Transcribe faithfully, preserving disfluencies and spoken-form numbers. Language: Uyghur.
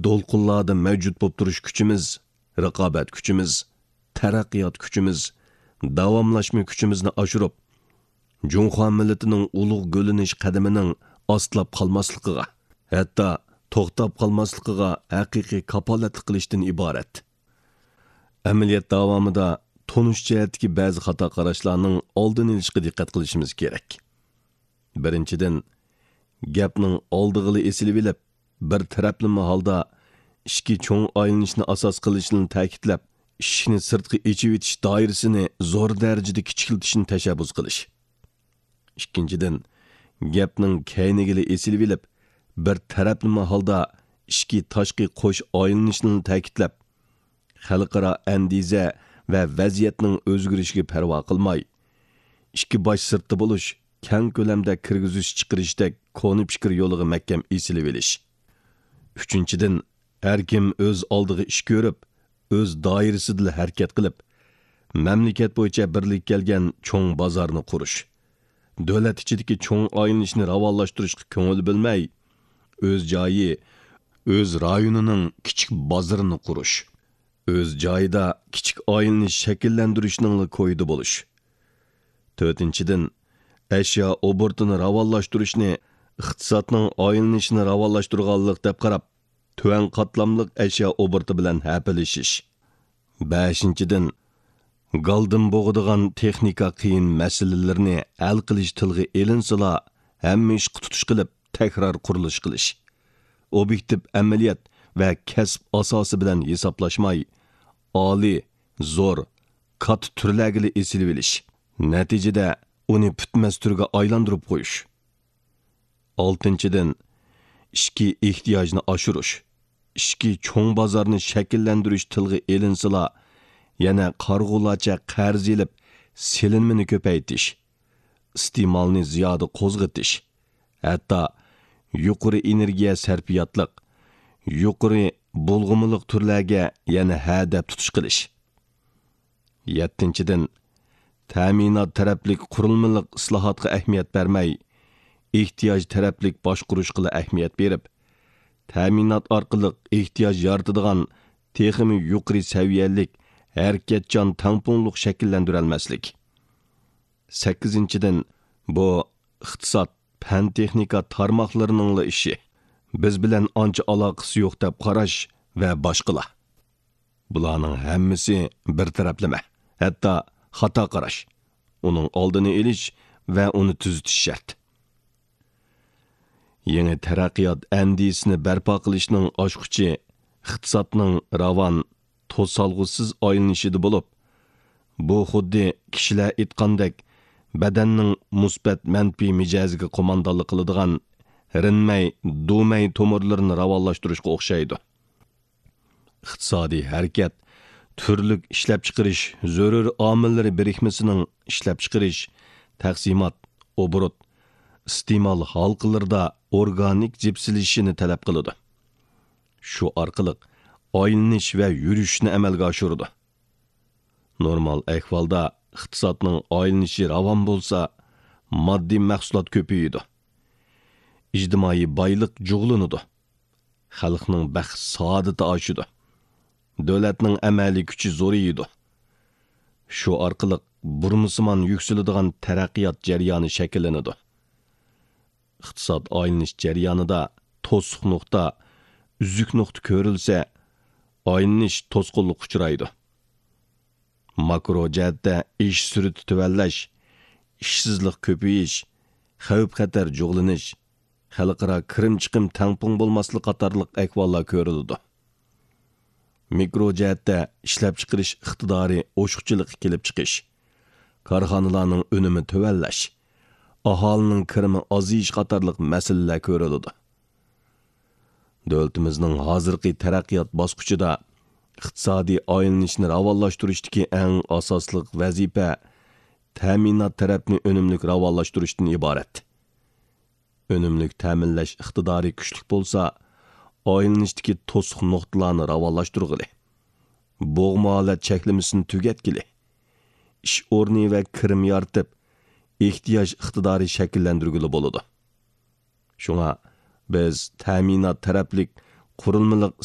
دولقۇنلاردا مەۋجۇت بولۇپ تۇرۇش كۈچىمىز، رىقابەت كۈچىمىز، تەرەققىيات كۈچىمىز، داۋاملاشما كۈچىمىزنى ئاشۇرۇپ، جۇڭخۇا مىللىتىنىڭ ئۇلۇغ گۈللىنىش قەدىمىنىڭ ئاستىلاپ قالماسلىقىغا، ھەتتا توختاپ قالماسلىقىغا ھەقىقىي كاپالەتلىك قىلىشتىن ئىبارەت. ئەمەلىيەت داۋامىدا تونۇش جەھەتتىكى بەزى خاتا قاراشلارنىڭ ئالدىنى ئېلىشقا دىققەت قىلىشىمىز كېرەك. بىرىنچىدىن، گەپنىڭ ئالدىغىلى ئېسىلىۋېلىپ، بىر تەرەپلىمە ھالدا ئىچكى چوڭ ئايلىنىشنى ئاساس قىلىشنى تەكىتلەپ، ئىشىكنى سىرتقا ئېچىۋېتىش دائىرىسىنى زور دەرىجىدە كىچىكلىتىشنى تەشەببۇس قىلىش. ئىككىنچىدىن، گەپنىڭ كەينىگىلى ئېسىلىۋېلىپ، بىر تەرەپلىمە ھالدا ئىچكى تاشقى قوش ئايلىنىشنى تەكىتلەپ، خەلقئارا ئەندىزە ۋە ۋەزىيەتنىڭ ئۆزگىرىشىگە پەرۋا قىلماي، ئىككى باش سىرتتا بولۇش، كەڭ كۆلەمدە كىرگۈزۈش چىقىرىشتەك كونا پىكىر يولىغا مەھكەم ئېسىلىۋېلىش. ئۈچىنچىدىن، ھەر كىم ئۆز ئالدىغا ئىش كۆرۈپ، ئۆز دائىرىسىدىلا ھەرىكەت قىلىپ، مەملىكەت بويىچە بىرلىككە كەلگەن چوڭ بازارنى قۇرۇش، دۆلەت ئىچىدىكى چوڭ ئايلىنىشنى راۋانلاشتۇرۇشقا كۆڭۈل بۆلمەي، ئۆز جايى، ئۆز رايونىنىڭ كىچىك بازىرىنى قۇرۇش، ئۆز جايىدا كىچىك ئايلىنىش شەكىللەندۈرۈشنىڭلا كويىدا بولۇش. تۆتىنچىدىن، ئەشيا ئوبوروتىنى راۋانلاشتۇرۇشنى ئىقتىسادنىڭ ئايلىنىشىنى راۋانلاشتۇرغانلىق دەپ قاراپ، تۆۋەن قاتلاملىق ئەشيا ئوبوروتى بىلەن ھەپىلىشىش. بەشىنچىدىن، گالدىن بوغىدىغان تېخنىكا قىيىن مەسىلىلىرىنى ھەل قىلىش تىلغا ئېلىنسىلا، ھەممە ئىشقا تۇتۇش قىلىپ، تەكرار قۇرۇلۇش قىلىش. ئوبيېكتىپ ئەمەلىيەت ۋە كەسىپ ئاساسى بىلەن ھېسابلاشماي، ئالىي، زور، كاتتا تۈرلەرگىلا ئېسىلىۋېلىش. نەتىجىدە ئۇنى پۈتمەس تۈرگە ئايلاندۇرۇپ قويۇش. ئالتىنچىدىن، ئىچكى ئېھتىياجنى ئاشۇرۇش. ئىچكى چوڭ بازارنى شەكىللەندۈرۈش تىلغا ئېلىنسىلا، يەنە قارىغۇلارچە قەرز ئېلىپ، سېلىنمىنى كۆپەيتىش، ئىستېمالنى زىيادە قوزغىتىش، ھەتتا يۇقىرى ئېنېرگىيە سەرپىياتلىق، يۇقىرى بۇلغىمىلىق تۈرلەرگە يەنە ھە دەپ تۇتۇش قىلىش. يەتتىنچىدىن، تەمىنات تەرەپلىك قۇرۇلمىلىق ئىسلاھاتقا ئەھمىيەت بەرمەي، ئېھتىياج تەرەپلىك باشقۇرۇشقىلا ئەھمىيەت بېرىپ، تەمىنات ئارقىلىق ئېھتىياج يارىتىدىغان تېخىمۇ يۇقىرى سەۋىيەلىك، ھەرىكەتچان تەڭپۇڭلۇق شەكىللەندۈرەلمەسلىك. سەككىزىنچىدىن، بۇ ئىقتىساد، پەن-تېخنىكا تارماقلىرىنىڭلا ئىشى، بىز بىلەن ئانچە ئالاقىسى يوق دەپ قاراش ۋە باشقىلار. بۇلارنىڭ ھەممىسى بىر تەرەپلىمە، ھەتتا خاتا قاراش. ئۇنىڭ ئالدىنى ئېلىش ۋە ئۇنى تۈزىتىش شەرت. يېڭى تەرەققىيات ئەندىزىسىنى بەرپا قىلىشنىڭ ئاچقۇچى ئىقتىسادنىڭ راۋان، توسالغۇسىز ئايلىنىشىدا بولۇپ، بۇ خۇددى كىشىلەر ئېيتقاندەك، بەدەننىڭ مۇسبەت مەنپىي مىجەزىگە قوماندانلىق قىلىدىغان رېنمەي، دۇمەي تومۇرلىرىنى راۋانلاشتۇرۇشقا ئوخشايدۇ. ئىقتىسادىي ھەرىكەت تۈرلۈك ئىشلەپچىقىرىش، زۆرۈر ئامىللىرى بىرىكمىسىنىڭ ئىشلەپچىقىرىش، تەقسىمات، ئوبوروت، ئىستېمال ھالقىلىرىدا ئورگانىك جىپسىلىشىشىنى تەلەپ قىلىدۇ. شۇ ئارقىلىق ئايلىنىش ۋە يۈرۈشۈشنى ئەمەلگە ئاشۇرىدۇ. نورمال ئەھۋالدا ئىقتىسادنىڭ ئايلىنىشى راۋان بولسا، ماددىي مەھسۇلات كۆپىيىدۇ. ئىجتىمائىي بايلىق جۇغلىنىدۇ. خەلقنىڭ بەخت-سائادىتى ئاشىدۇ. دۆلەتنىڭ ئەمەلىي كۈچى زورىيىدۇ. شۇ ئارقىلىق بۇرمىسىمان يۈكسىلىدىغان تەرەققىيات جەريانى شەكىللىنىدۇ. ئىقتىساد ئايلىنىش جەريانىدا توسۇق نۇقتا، ئۈزۈك نۇقتا كۆرۈلسە، ئايلىنىش توسقۇنلۇققا ئۇچرايدۇ. ماكرو جەھەتتە ئىش سۈرئىتى تۆۋەنلەش، ئىشسىزلىق كۆپىيىش، خەۋپ-خەتەر جۇغلىنىش، خەلقئارا كىرىم-چىقىم تەڭپۇڭ بولماسلىق قاتارلىق ئەھۋاللار كۆرۈلىدۇ. مىكرو جەھەتتە ئىشلەپچىقىرىش ئىقتىدارى ئوشۇقچىلىققا كېلىپ چىقىش، كارخانىلارنىڭ ئۈنۈمى تۆۋەنلەش، ئاھالىنىڭ كىرىمى ئازىيىش قاتارلىق مەسىلىلەر كۆرۈلىدۇ. دۆلىتىمىزنىڭ ھازىرقى تەرەققىيات باسقۇچىدا ئىقتىسادىي ئايلىنىشنى راۋانلاشتۇرۇشتىكى ئەڭ ئاساسلىق ۋەزىپە تەمىنات تەرەپنى ئۈنۈملۈك راۋانلاشتۇرۇشتىن ئىبارەت. ئۈنۈملۈك تەمىنلەش ئىقتىدارى كۈچلۈك بولسا، ئايلىنىشتىكى توسۇق نۇقتىلارنى راۋانلاشتۇرغىلى، بوغما ھالەت چەكلىمىسىنى تۈگەتكىلى، ئىش ئورنى ۋە كىرىم يارىتىپ، ئېھتىياج ئىقتىدارى شەكىللەندۈرگىلى بولىدۇ. شۇڭا بىز تەمىنات تەرەپلىك قۇرۇلمىلىق